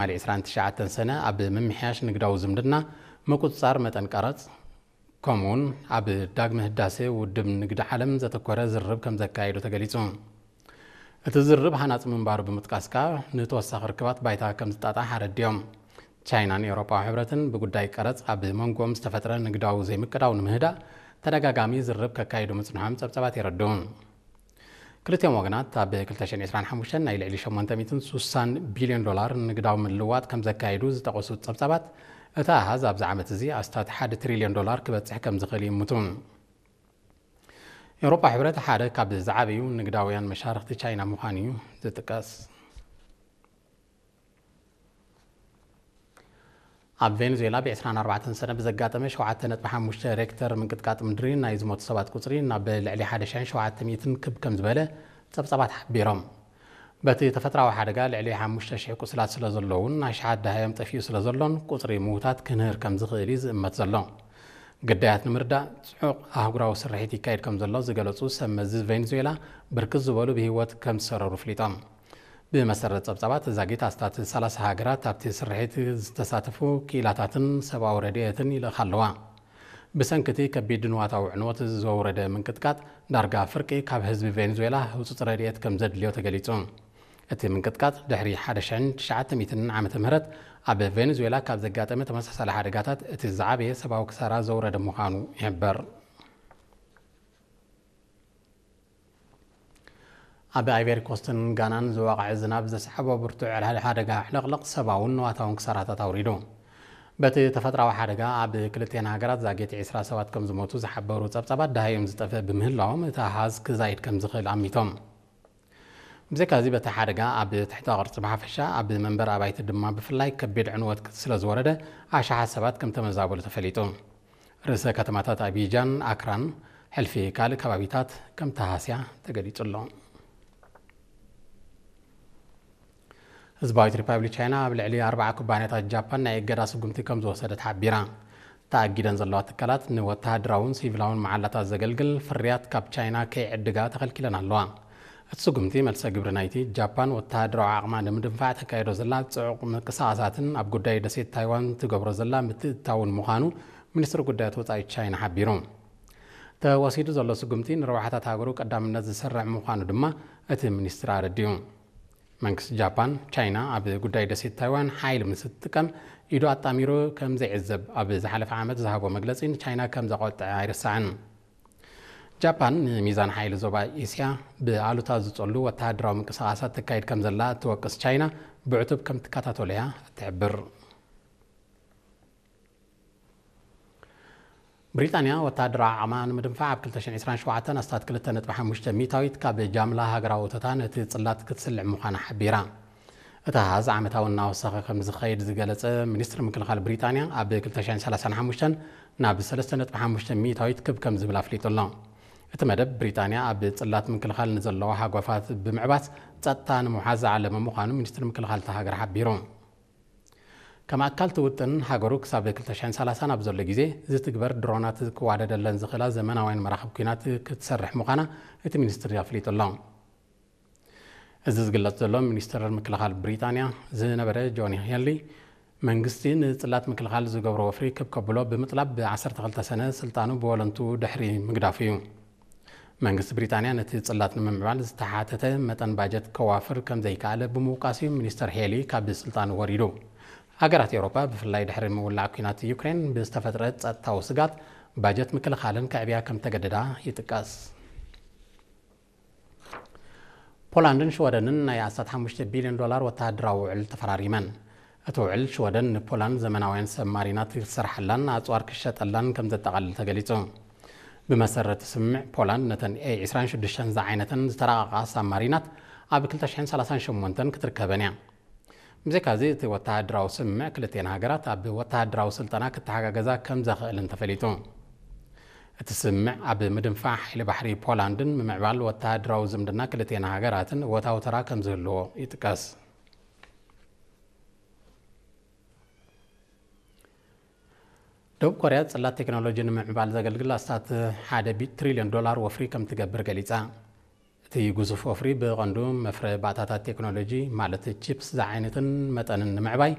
ትማሊ ዕስራን ትሽዓተን ሰነ ኣብ ምምሕያሽ ንግዳዊ ዝምድና፣ ምቁጽጻር መጠን ቀረጽ፣ ከምኡውን ኣብ ዳግመ ህዳሴ ውድብ ንግዲ ዓለም ዘተኮረ ዝርርብ ከም ዘካየዱ ተገሊጹ። እቲ ዝርርብ ሃናጺ ምንባሩ ብምጥቃስ ከኣ፣ ንተወሳኺ ርክባት ባይታ ከም ዝጣጣሕ ኣረዲኦም። ቻይናን ኤውሮጳዊ ሕብረትን ብጉዳይ ቀረጽ ኣብ መንጎኦም ዝተፈጥረ ንግዳዊ ዘይምቅዳው ንምህዳእ ተደጋጋሚ ዝርርብ ከካይዱ ምጽንሖም ጸብጻባት የረድኡ። ክልቲኦም ወገናት ኣብ ክልተ ሽሕን ዕስራን ሓሙሽተን ናይ ልዕሊ ሸሞንተ ሚእትን ስሳን ቢልዮን ዶላር ንግዳዊ ምልውዋጥ ከም ዘካየዱ ዝጠቐሱ ጸብጻባት፣ እቲ ኣሃዝ ኣብዚ ዓመት እዚ ኣስታት ሓደ ትሪልዮን ዶላር ክበጽሕ ከም ዝኽእል ይእምቱ። ኤውሮጳ ሕብረት ሓደ ካብ ዝዓበዩ ንግዳውያን መሻርኽቲ ቻይና ምዃኑ እዩ ዝጥቀስ። ኣብ ቬንዙዌላ ብ ዕስራን ኣርባዕተን ሰነ ብዘጋጠመ ሸውዓተ ነጥቢ ሓሙሽተ ሬክተር ምንቅጥቃጥ ምድሪ ናይ ዝሞቱ ሰባት ቁጽሪ ናብ ልዕሊ ሓደ ሽሕን ሸውዓተ ሚእትን ክብ ከም ዝበለ ጸብጻባት ሓቢሮም። በቲ ተፈጥራዊ ሓደጋ ልዕሊ ሓሙሽተ ሽሕ ቁስላት ስለ ዘለውን ኣሽሓት ደሃዮም ጠፊኡ ስለ ዘሎን ቁጽሪ ምዉታት ክንህር ከም ዝኽእል እዩ ዝእመት ዘሎ። ግዳያት ንምርዳእ ጽዑቕ ኣህጉራዊ ስርሒት ይካየድ ከም ዘሎ ዝገለጹ ሰብ መዚ ቬንዙዌላ፣ ብርክት ዝበሉ ብህይወት ከም ዝሰረሩ ፍሊጦም። ብመሰረት ጸብጻባት ዛጊት ኣስታት ሰላሳ ሃገራት ኣብቲ ስርሒት ዝተሳተፉ ክኢላታትን ሰብኣዊ ረድኤትን ይልእኻ ኣለዋ። ብሰንኪ እቲ ከቢድ ንዋታዊ ዕንወት ዘውረደ ምንቅጥቃጥ፣ ዳርጋ ፍርቂ ካብ ህዝቢ ቬንዙዌላ ህጹጽ ረድኤት ከም ዘድልዮ ተገሊጹ። እቲ ምንቅጥቃጥ ድሕሪ ሓደ ሽሕን ትሽዓተ ሚእትን ዓመተ ምህረት ኣብ ቬንዙዌላ ካብ ዘጋጠመ ተመሳሳሊ ሓደጋታት እቲ ዝዓበየ ሰብኣዊ ክሳራ ዘውረደ ምዃኑ ይሕበር። ኣብ ኣይቨሪ ኮስትን ጋናን ዝወቕዐ ዝናብ ዘስዓቦ ብርቱዕ ዕላል ሓደጋ ዕልቕልቕ ሰብኣውን ንዋታውን ክሳራታት ኣውሪዱ። በቲ ተፈጥራዊ ሓደጋ ኣብ ክልቲአን ሃገራት ዛጌት ዕስራ ሰባት ከም ዝሞቱ ዝሓበሩ ጸብጻባት ደሃዮም ዝጠፍእ ብምህላዎም እቲ ኣሃዝ ክዛይድ ከም ዝኽእል ኣሚቶም። ብዘይካዚ በቲ ሓደጋ ኣብ ትሕተ ቅርጺ ብሓፈሻ ኣብ መንበሪ ኣባይቲ ድማ ብፍላይ ከቢድ ዕንወት ስለ ዝወረደ ኣሽሓት ሰባት ከም ተመዛበሉ ተፈሊጡ። ርእሰ ከተማታት ኣቢጃን ኣክራን ሕልፊ ካልእ ከባቢታት ከም ተሃስያ ተገሊጹ ኣሎ። ህዝባዊት ሪፓብሊክ ቻይና ኣብ ልዕሊ ኣርባዓ ኩባንያታት ጃፓን ናይ እገዳ ስጉምቲ ከም ዝወሰደት ሓቢራ። ተኣጊደን ዘለዋ ትካላት ንወተሃደራውን ሲቪላውን መዓላታት ዘገልግል ፍርያት ካብ ቻይና ከይዕድጋ ተኸልኪለን ኣለዋ። እቲ ስጉምቲ መልሰ ግብሪ ናይቲ ጃፓን ወተሃደራዊ ዓቕማ ንምድንፋዕ ተካየዶ ዘላ ጽዑቕ ምንቅስቓሳትን ኣብ ጉዳይ ደሴት ታይዋን ትገብሮ ዘላ ምትእትታውን ምዃኑ ሚኒስትሪ ጉዳያት ወጻኢ ቻይና ሓቢሩ። ተወሲዱ ዘሎ ስጉምቲ ንረብሓታት ሃገሩ ቀዳምነት ዝሰርዕ ምዃኑ ድማ እቲ ሚኒስትሪ ኣረዲኡ። መንግስቲ ጃፓን፣ ቻይና ኣብ ጉዳይ ደሴት ታይዋን ሓይሊ ምስ እትጥቀም ኢዱ ኣጣሚሩ ከም ዘይዕዘብ ኣብ ዝሓለፈ ዓመት ዝሃቦ መግለጺ ንቻይና ከም ዘቖጥዐ ኣይርሳዕን። ጃፓን ንሚዛን ሓይሊ ዞባ ኤስያ ብኣሉታ ዝጸሉ ወተሃደራዊ ምንቅስቓሳት ተካይድ ከም ዘላ እትወቅስ ቻይና፣ ብዕቱብ ከም ትከታተሎ እያ እትሕብር። ብሪጣንያ ወተሃደራዊ ዓቕማ ንምድንፋዕ ኣብ ክልተ ሽሕን ዕስራን ሸውዓተን ኣስታት ክልተ ነጥቢ ሓሙሽተ ሚእታዊት ካብ ጃምላ ሃገራዊ እቶታ ነቲ ጽላት ክትስልዕ ምዃና ሓቢራ። እቲ ኣሃዝ ዓመታዊ እናወሰኸ ከም ዝኸይድ ዝገለጸ ሚኒስትሪ ምክልኻል ብሪጣንያ፣ ኣብ ክልተ ሽሕን ሰላሳን ሓሙሽተን ናብ ሰለስተ ነጥቢ ሓሙሽተ ሚእታዊት ክብ ከም ዝብል ኣፍሊጡ ኣሎ። እቲ መደብ ብሪጣንያ ኣብ ጽላት ምክልኻል ንዘለዋ ሃጓፋት ብምዕባስ ጸጥታ ንምውሓዝ ዝዓለመ ምዃኑ ሚኒስትሪ ምክልኻል እታ ሃገር ሓቢሩ። ከም ኣካል እቲ ውጥን፣ ሃገሩ ክሳብ ክልተ ሽሕን ሰላሳን ኣብ ዘሎ ግዜ ዝትግበር ድሮናት ክዋደደለን ዝኽእላ ዘመናውያን መራኽብ ኲናት ክትሰርሕ ምዃና እቲ ሚኒስትሪ ኣፍሊጡ ኣሎ። እዚ ዝግለጽ ዘሎ፣ ሚኒስትር ምክልኻል ብሪጣንያ ዝነበረ ጆኒ ሄሊ፣ መንግስቲ ንጽላት ምክልኻል ዝገብሮ ወፍሪ ክብ ከብሎ ብምጥላብ ብ ዓሰርተ ክልተ ሰነ ስልጣኑ ብወለንቱ ድሕሪ ምግዳፉ እዩ። መንግስቲ ብሪጣንያ ነቲ ጽላት ንምምዕባል ዝተሓተተ መጠን ባጀት ከዋፍር ከም ዘይከኣለ ብምውቃስ እዩ ሚኒስተር ሄሊ ካብ ስልጣኑ ወሪዱ። ሃገራት ኤውሮጳ፣ ብፍላይ ድሕሪ ምውላዕ ኲናት ዩክሬን ብዝተፈጥረ ጸጥታዊ ስጋት፣ ባጀት ምክልኻለን ከዕብያ ከም ተገደዳ ይጥቀስ። ፖላንድን ሽወደንን ናይ ኣስታት ሓሙሽተ ቢልዮን ዶላር ወተሃደራዊ ውዕል ተፈራሪመን። እቲ ውዕል፣ ሽወደን ንፖላንድ ዘመናውያን ሰብማሪናት ክትሰርሓላን ኣጽዋር ክሸጠላን ከም ዘጠቓልል ተገሊጹ። ብመሰረት ስምምዕ፣ ፖላንድ ነተን ኤ ዕስራን ሽዱሽተን ዝዓይነተን ዝተራቐቓ ሳብማሪናት ኣብ ክልተ ሽሕን ሰላሳን ሸሞንተን ክትርከበን እያ። ብዘይካዚ፣ እቲ ወተሃደራዊ ስምምዕ ክልቲኤን ሃገራት ኣብ ወተሃደራዊ ስልጠና ክተሓጋገዛ ከም ዘኽእልን ተፈሊጡ። እቲ ስምምዕ፣ ኣብ ምድንፋዕ ሓይሊ ባሕሪ ፖላንድን ምምዕባል ወተሃደራዊ ዝምድና ክልቲኤን ሃገራትን እወታዊ ተራ ከም ዝህልዎ ይጥቀስ። ደቡብ ኮርያ፣ ጽላት ቴክኖሎጂ ንምምዕባል ዘገልግል ኣስታት ሓደ ቢ-፣ ትሪልዮን ዶላር ወፍሪ ከም ትገብር ገሊጻ። እቲ ግዙፍ ወፍሪ ብቐንዱ መፍረ ባእታታት ቴክኖሎጂ ማለት ቺፕስ ዝዓይነትን መጠንን ንምዕባይ